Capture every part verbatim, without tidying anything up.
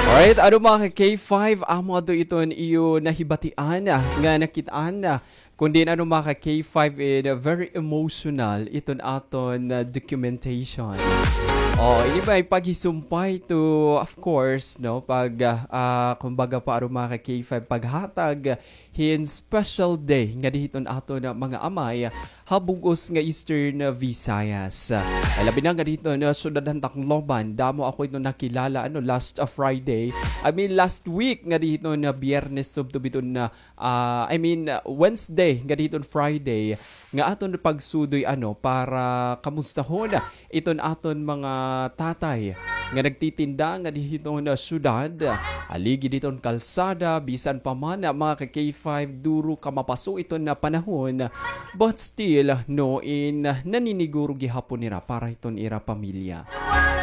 Alright, ano, mga ka K five, amo adto iton iyo nahibatian, ah, nga nakit-an, ah, kun diin, ano, mga ka K five, in, ah, very emotional iton aton, ah, documentation. Oh, ini may paghisumpay to, of course, no, pag, ah, ah, kumbaga pa, ano, mga ka K five, paghatag hin special day ngadi hiton aton mga amay ha bug-os nga Eastern Visayas. Ay, labi na ngadi hiton syudad han Tacloban. Damo ako iton nakilala, ano, last, ah, Friday. I mean, last week ngadi hiton Biyernes tubtob hiton, ah, I mean, ah, Wednesday ngadi hiton Friday nga aton pagsudoy, ano, para kamustahon iton aton mga tatay nga nagtitinda ngadi hiton syudad, haligi hiton kalsada, bisan pa man, mga ka K five, duro kamapaso iton panahon, but still, no, in, naniniguro gihapon nira para hiton ira pamilya.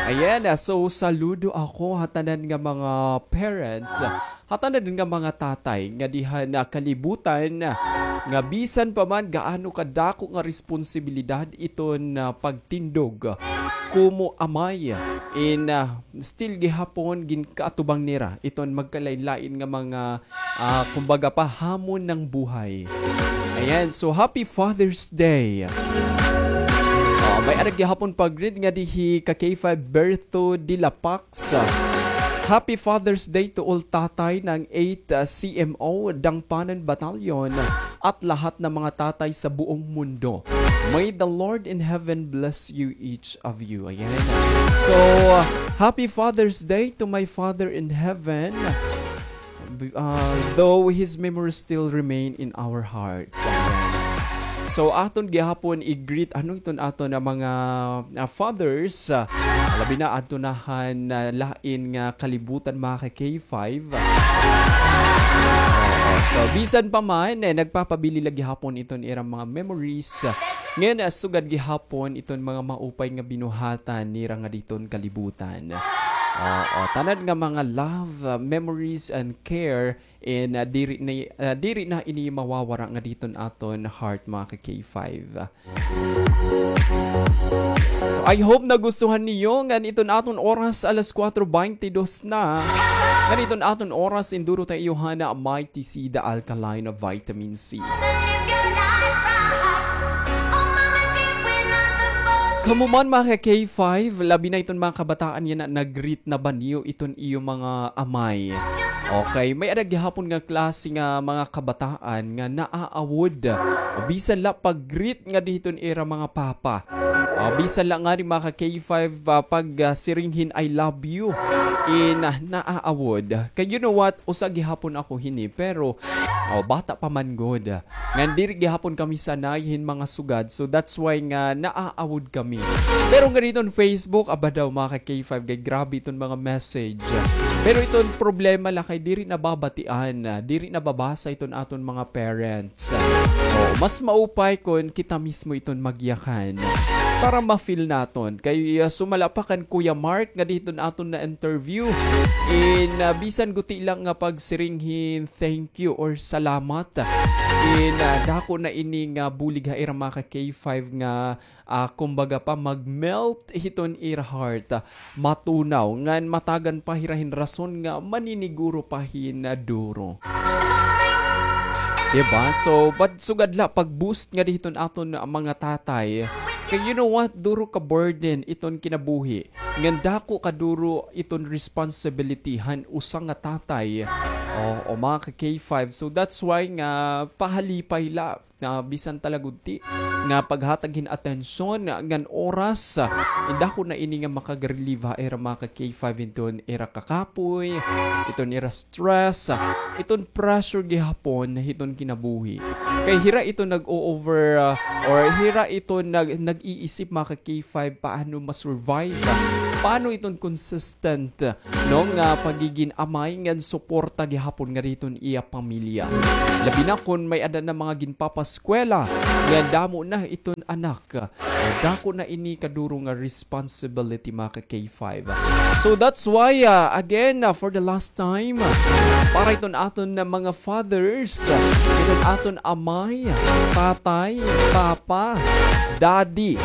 Ayan, ah, so saludo ako ha tanan nga mga parents, ha tanan nga mga tatay ngadi han kalibutan, nga bisan pa man gaano kadako nga responsibilidad iton, ah, pagtindog komo amay, in, ah, still gihapon ginkaatubang nira iton magkalain-lain nga mga, ah, kumbaga pa, hamon ng buhay. Ayan, so happy Father's Day. Ah, may-ada gihapon pag-greet ngadi hi ka K five Bertho de la Pax. Happy Father's Day to all tatay ng eight, ah, C M O Dangpanan Battalion at lahat ng mga tatay sa buong mundo. May the Lord in heaven bless you, each of you. Ayan. So, uh, happy Father's Day to my Father in heaven. Uh, though his memory still remain in our hearts. Ayan. So, aton gihapon i-greet, ano, iton aton nga mga, uh, fathers, uh, labi na adto na han, uh, lain nga kalibutan, mga ka K five. Oo, so, bisan pa man, eh, nagpapabili la gihapon iton ira mga memories, uh, ngan, uh, sugad gihapon iton mga maupay nga binuhatan nira ngadi hiton kalibutan. Oo, tanan nga mga love, uh, memories and care, and, uh, diri na, uh, diri na ini mawawara ngadi hiton aton heart, mga ka K five. So, I hope nagustuhan niyo ngan iton aton oras, alas kuwatro beintidos na. Ngan iton aton oras, induro ta iyo han Mighty C, the alkaline vitamin C. Kamo man, mga ka K five, labi na iton mga kabataan yana, nag-greet na ba niyo iton iyo mga amay? Okay, may-ada gihapon nga klase nga mga kabataan nga naaawod. O bisan la pag-greet ngadi hiton ira mga papa. O bisan la ngani, mga ka K five, ah, pag, ah, siring hin I love you. In, ah, naaawod. Kay you know what? Usa gihapon ako hini, pero, o, bata pa man gud. Ngan diri gihapon kami sanay hin mga sugad. So that's why nga naaawod kami. Pero ngadi hiton Facebook, aba daw, mga ka K five, kay grabe iton mga message. Pero iton problema la kay diri nababatian, diri nababasa iton aton mga parents. O, mas maupay kon kita mismo iton magyakan para ma-feel naton. Kay, ah, sumala pa kan Kuya Mark ngadi hiton aton na-interview. In, ah, bisan guti lang nga pagsiring hin thank you or salamat. In, ah, dako na ini nga bulig ha ira, mga ka K five, nga, ah, kumbaga pa, mag-melt hiton ira heart, ah, matunaw, ngan matagan pa hira hin rason nga maniniguro pa hin, ah, duro. Diba? So, but sugad la pag-boost ngadi hiton aton, ah, mga tatay. Kay you know what? Duro ka burden iton kinabuhi. Ngan dako kaduro iton responsibility han usa nga tatay. O, o, mga ka K five. So that's why nga pahalipay la nga bisan ta la gud ti nga paghatag hin atensyon ngan oras, in dako na ini nga makag-relieve ha ira, mga ka K five, iton ira kakapoy, iton ira stress, iton pressure gihapon hiton kinabuhi. Kay hira iton nag-o-over, ah, or hira iton nag-, nag-iisip, mga ka K five, paano ma-survive, paano iton consistent, no, nga pagigin amay ngan suporta gihapon ngadi hiton iya pamilya. Labi na kon may-ada na mga ginpapaskwela, nga damo na iton anak. Dako na ini kaduro nga responsibility, mga ka K five. So that's why, ah, again, ah, for the last time, ah, para iton aton na mga fathers, ah, iton aton amay, tatay, papa, daddy.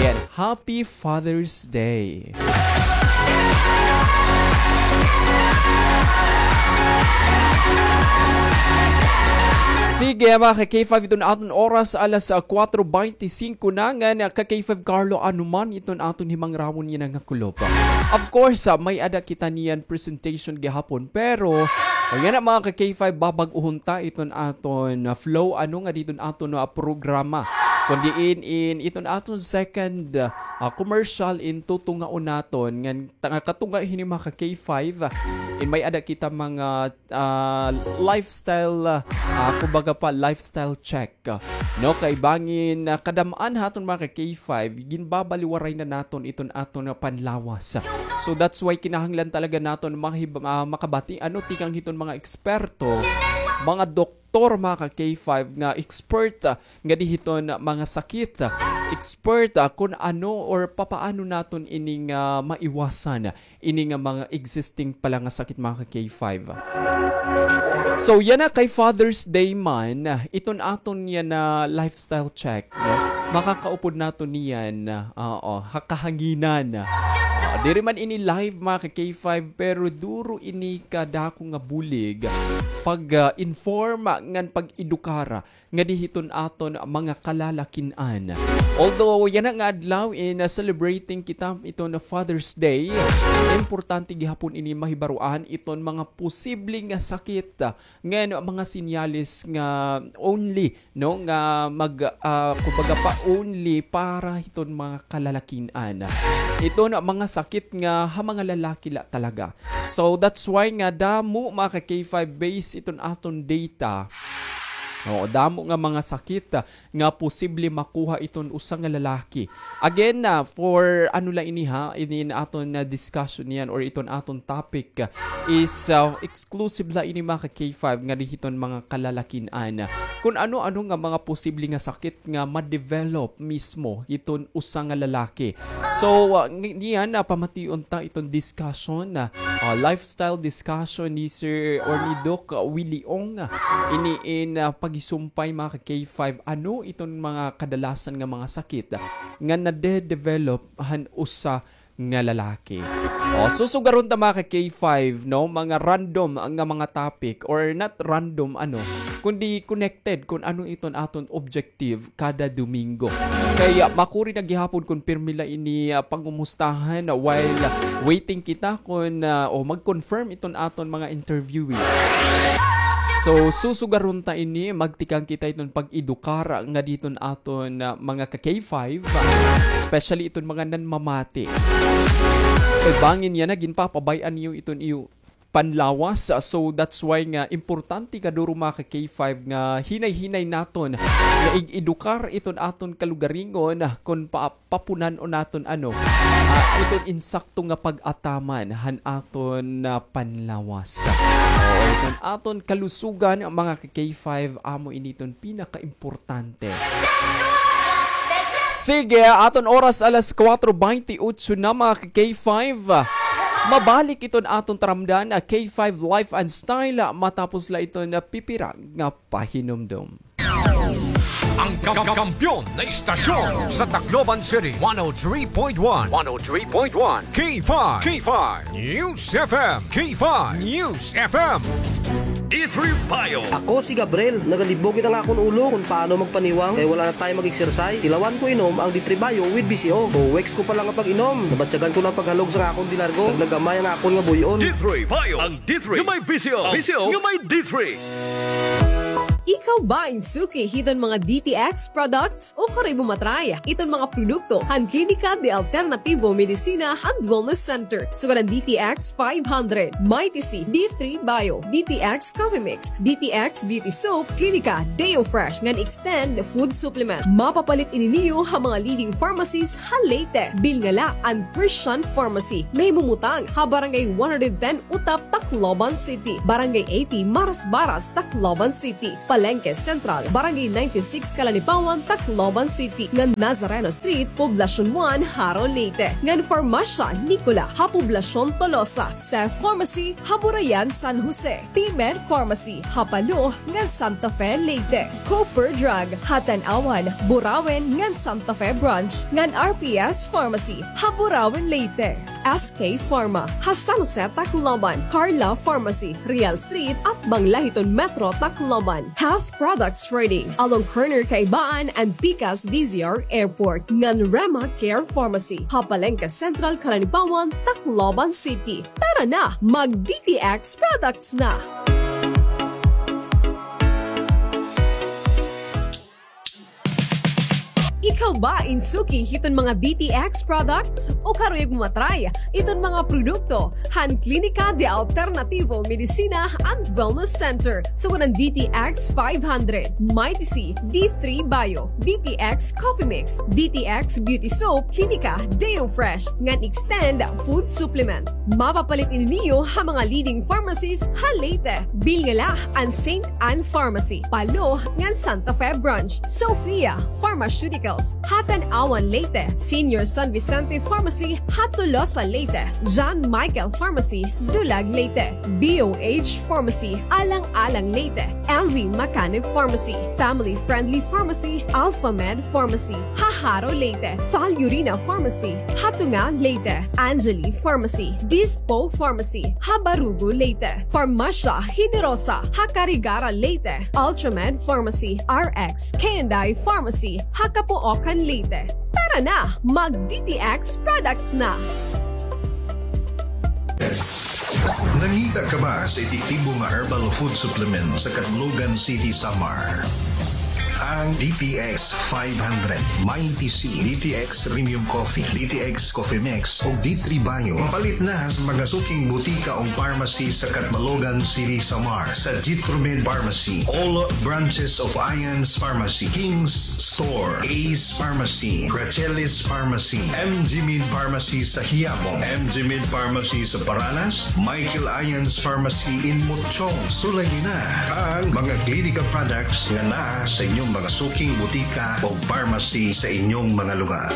Ayan, happy Father's Day. Kaya mga ka-K five, iton aton oras alas, ah, kuwatro bente singko na, ngan, ah, ka-K five Carlo, ano man iton aton himangrawon yana nga kulop. Of course, ah, may-ada kita niyan presentation gihapon, pero, o yana mga ka-K five, babag-ohon ta iton aton, ah, flow, ano nga diton aton, ah, programa. Kundi in, in iton aton second, ah, commercial in tutungaon naton, ngan ta-, katunga hini mga ka-K five, ah, in may-ada kita mga ah, lifestyle, ah, kumbaga pa, lifestyle check. No, kay bangin, ah, kadam-an ha aton mga ka-K five, ginbabaliwaray na naton iton aton nga panlawas. So that's why kinahanglan talaga naton mahib-, ah, makabati, ano, tikang hiton mga eksperto, mga doktor, mga ka-K five nga expert, ah, nga di hiton mga sakit, ah, expert, ah, kun ano or papaano naton ining, ah, maiwasan ini nga mga existing pala nga sakit, mga ka-K five. So, yana kay Father's Day man, iton aton yana lifestyle check, no? Makakaupod naton niyan, oo, ha kahanginan. Ah, diri man ini live, mga ka-K five, pero duro ini kadako nga bulig pag, ah, inform ngan pag-edukar nga di hiton aton mga kalalakin-an. Although yana nga adlaw in, uh, celebrating kita iton Father's Day, importante gihapon ini mahibaroan iton mga posible nga sakit, uh, ngan mga senyales nga only, no, nga mag, uh, kumbaga pa, only para hiton mga kalalakin-an. Iton mga sakit nga ha mga lalaki la talaga. So that's why nga damo, mga ka-K five, base iton aton data. Oo, damo nga mga sakit, ah, nga posible makuha iton usa nga lalaki. Again, ah, for ano la ini ha, ini aton na discussion niyan or iton aton topic, ah, is, ah, exclusive la ini, mga ka-K five, nga di hiton mga kalalakin-an. Kun ano-ano nga mga posible nga sakit nga ma-develop mismo iton usa nga lalaki. So, ah, ng-, niyan, ah, pamation ta iton discussion, ah, ah, lifestyle discussion ni Sir or ni Doc, ah, Willie Ong, ah, ini in, ah, pagisumpay, mga ka-K five, ano iton mga kadalasan nga mga sakit, ah, nga nade-develop han usa nga lalaki. O, susugaron ta, mga ka-K five, no? Mga random nga mga topic, or not random, ano, kundi connected kun ano iton aton objective kada Domingo. Kay, ah, makuri na gihapon kun pirmi la ini, ah, pangumustahan, ah, while, ah, waiting kita kun, ah, o mag-confirm iton aton mga interviewee. So, susugaron ta ini, magtikang kita iton pag-edukar nga diton aton, ah, mga ka-K five, ah, especially iton mga nanmamati. Kay bangin yana, ginpapabay-an niyo iton iyo panlawas. Ah, so that's why nga importante kaduro, mga ka-K five, nga hinay-hinay naton nga ig-edukar iton aton kalugaringon, ah, kon pa-, papunan-on naton, ano, ah, iton insakto nga pag-ataman han aton, ah, panlawas. Oo, iton aton kalusugan, mga ka-K five, amo ini iton pinakaimportante. Sige, aton oras alas kuwatro bente otso na, mga ka-K five. Mabalik iton aton taramdan, ah, K five Life and Style, ah, matapos la iton, ah, pipira nga pahinumdom. Ang ka-, ka-, kampiyon na istasyon sa Tacloban City, one oh three point one, one oh three point one, K five, K five News F M, K five News F M. D three Bio. Ako si Gabriel. Nagalibog it ang akon ulo kon paano magpaniwang kay wala na time mag-exercise. Ilawan ko inom ang D three Bio with V C O. Two weeks ko pa lang nga pag-inom, nabatyagan ko na ang paghalog sa akon dilargo. Nagnagamay ang akon nga buy-on. D three Bio. Ang D three nga may V C O. V C O nga may D three. Ikaw ba in suki hiton mga D T X products? O kari mo ma-try iton mga produkto han Klinika de Alternativo Medicina and Wellness Center. Sugad an D T X five hundred, Mighty C, D three Bio, D T X Coffee Mix, D T X Beauty Soap, Klinika Deo Fresh ngan Extend Food Supplement. Mapapalit ini niyo ha mga leading pharmacies ha Leyte. Bilngala an Christian Pharmacy. Nahimumutang ha Barangay one hundred ten Utap, Tacloban City, Barangay eighty Marasbaras, Tacloban City, Palengke Central, Barangay ninety-six Calanipawan, Tacloban City, ngan Nazareno Street, Poblacion one, Jaro, Leyte, ngan Farmacia Nicola ha Poblacion Tolosa, Cef Pharmacy ha Burayan, San Jose, P-Med Pharmacy ha Palo ngan Santa Fe, Leyte, Cooper Drug ha Tanauan, Burauen ngan Santa Fe Branch, ngan R P S Pharmacy ha Burauen, Leyte. S K Pharma, ha San Jose, Tacloban, Carla Pharmacy, Real Street, atbang la hiton Metro, Tacloban, Health Products Trading, along corner Kaibaan and Pikas D Z R Airport, ngan Rema Care Pharmacy, ha Palengke Central, Calanibaon, Tacloban City. Tara na, mag D T X products na! Ikaw ba in suki hiton mga D T X products? O karuyag mo ma-try iton mga produkto han Klinika de Alternativo Medicina and Wellness Center, sugad han D T X five hundred, Mighty C, D three Bio, D T X Coffee Mix, D T X Beauty Soap, Klinika Deo Fresh, ngan Extend Food Supplement. Mapapalit ini niyo ha mga leading pharmacies ha Leyte. Bilngala an Saint Anne Pharmacy, Palo, ngan Santa Fe Branch, Sophia Pharmaceuticals, ha Tanauan, Leyte, Senior San Vicente Pharmacy, ha Tolosa, Leyte, John Michael Pharmacy, Dulag, Leyte, B O H Pharmacy, Alang-alang, Leyte, M V Macanib Pharmacy, Family Friendly Pharmacy, Alpha Med Pharmacy, ha Jaro, Leyte, Falurina Pharmacy, ha Tunga, Leyte, Angeli Pharmacy, Dispo Pharmacy, ha Barugo, Leyte, Farmacia Generosa, ha Carigara, Leyte, Ultramed Pharmacy, R X K and I Pharmacy, ha Capoocan, Leyte. Tara na, mag D T X products na! Nangita ka ba sa epektibo nga herbal food supplement sa Catbalogan City, Samar? Ang D T X five hundred, Mighty C, D T X Premium Coffee, D T X Coffee Mix, ug D three Bio. Mapalit na sa mga suking butika o pharmacy sa Catbalogan City, Samar, sa Jitromed Pharmacy, all branches of Ian's Pharmacy, King's Store, Ace Pharmacy, Gracelis Pharmacy, M G Med Pharmacy sa Quiapo, M G Med Pharmacy sa Paranas, Michael Ian's Pharmacy in Mochong. Sulayi na ang mga Klinika products nga naa sa inyong mga suking butika o pharmacy sa inyong mga lugar.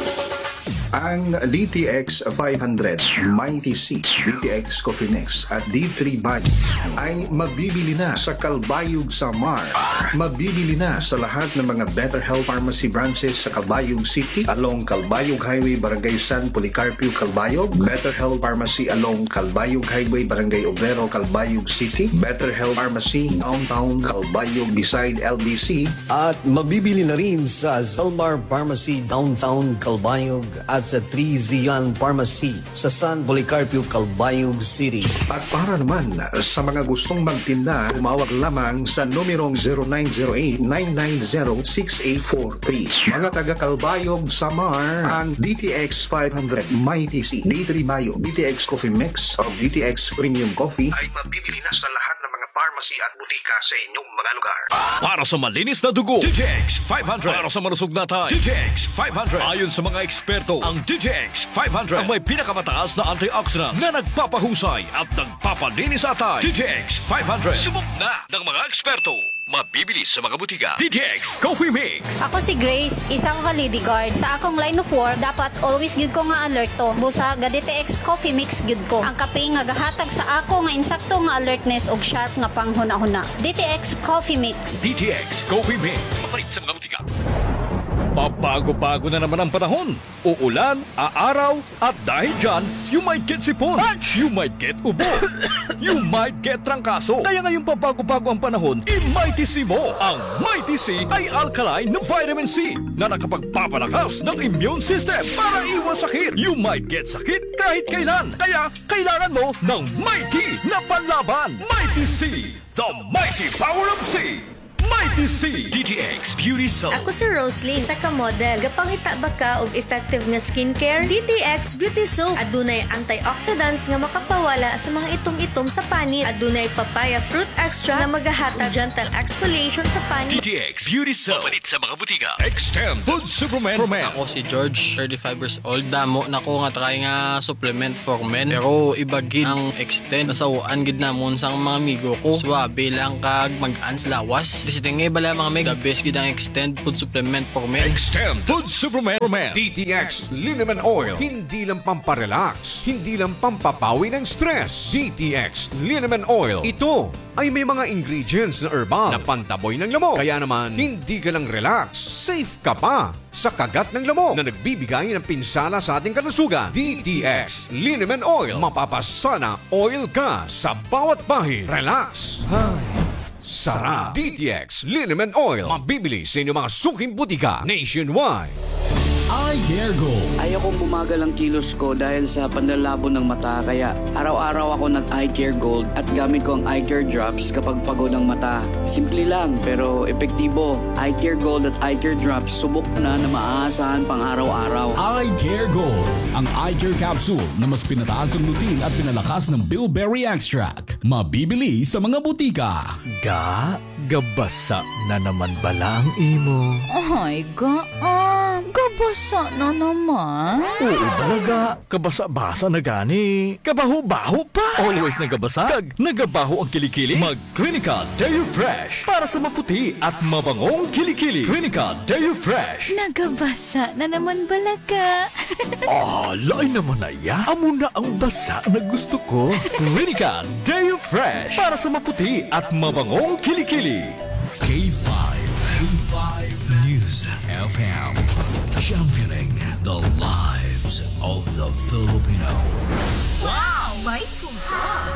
Ang D T X five hundred, Mighty C, D T X Coffee Mix at D three Bio ay mabibili na sa Calbayog, Samar. Mabibili na sa lahat ng mga Better Health Pharmacy branches sa Calbayog City, along Calbayog Highway, Barangay San Policarpio, Calbayog, Better Health Pharmacy along Calbayog Highway, Barangay Obrero, Calbayog City, Better Health Pharmacy Downtown Calbayog beside L B C, at mabibili na rin sa Zalmar Pharmacy Downtown Calbayog at sa Three Zion Pharmacy sa San Policarpio, Calbayog City. At para naman sa mga gustong magtinda, tumawag lamang sa numerong zero nine zero eight, nine nine zero, six eight four three. Mga taga Calbayog, Samar, ang D T X five hundred, Mighty C, D three Bio, D T X Coffee Mix, o D T X Premium Coffee ay mabibili na sa lahat ng mga pharmacy at butika sa inyong mga lugar. Para sa malinis na dugo, D T X five hundred. Para sa malusog na atay, D T X five hundred. Ayon sa mga eksperto, ang D T X five hundred ang may pinakamataas na antioxidant na nagpapahusay at nagpapalinis sa atay. D T X five hundred. Subok na ng mga eksperto. Mabibili sa mga butika. D T X Coffee Mix. Ako si Grace, isa ko ka Lady Guard. Sa akong line of work, dapat always gyud ko nga alerto. Busa, ga D T X Coffee Mix gyud ko. Ang kape nga gahatag sa ako nga insakto nga alertness ug sharp nga panghunahuna. D T X Coffee Mix. D T X Coffee Mix. Mapalit sa mga butika. Pabago-bago na naman ang panahon. Uulan, aaraw, at dahil dyan, you might get sipon, you might get ubo, you might get trangkaso. Kaya ngayong pabago-bago ang panahon, i-Mighty C mo. Ang Mighty C ay alkaline na vitamin C na nakapagpapalakas ng immune system para iwas sakit. You might get sakit kahit kailan. Kaya kailangan mo ng Mighty na panlaban. Mighty C, the mighty power of C. Mighty C. D T X Beauty Soap. Ako si Roslyn, isa ka model. Gapangita ba ka og effective nga skincare? D T X Beauty Soap. Adunay antioxidants nga makapawala sa mga itom-itom sa panit. Adunay papaya fruit extract nga magahatag gentle exfoliation sa panit. D T X Beauty Soap. Mapalit sa mga butika. Extend Food Supplement for Men. Ako si George, thirty-five years old. Damo na ko nga try nga supplement for men. Pero iba gid ang Extend. Nasaw-an gid namon sang mga amigo ko. Suwabe lang kag mag-ans lawas. Visiting Bala, mga mig, the best gid ang Extend Food Supplement for Men. Extend Food Supplement for Men. D T X Liniment Oil. Hindi lang pamparelax, hindi lang pampapawi ng stress. D T X Liniment Oil. Ito ay may mga ingredients na herbal na pantaboy ng lamok. Kaya naman, hindi ka lang relax, safe ka pa sa kagat ng lamok na nagbibigay ng pinsala sa ating kalusugan. D T X Liniment Oil. Mapapasana oil ka sa bawat bahid. Relax. Ay, sarap. D T X Liniment Oil. Mabibili sa inyong mga suking butika nationwide. Eye Care Gold. Ayokong bumagal ang kilos ko dahil sa panlalabo ng mata, kaya araw-araw ako nag-Eye Care Gold at gamit ko ang Eye Care Drops kapag pagod ang mata. Simple lang, pero epektibo. Eye Care Gold at Eye Care Drops, subok na na maaasahan pang araw-araw. Eye Care Gold, ang eye care capsule na mas pinataas ang lutein at pinalakas ng bilberry extract. Mabibili sa mga butika. Ga, gabasa na naman bala ang imo? Ay, ga, ah, gabasa na naman? Oo bala, ga. Kabasa-basa na gani. Kabaho-baho pa. Always nagabasa kag nagabaho ang kilikili? Mag Clinica Deo Fresh para sa maputi at mabangong kilikili. Clinica Deo Fresh. Nagabasa na naman bala, ga. Ah, lain naman na iya. Amo na ang basa na gusto ko. Clinica Deo Fresh para sa maputi at mabangong kilikili. K five, K five News F M, championing the lives of the Filipino. Wow! May puso!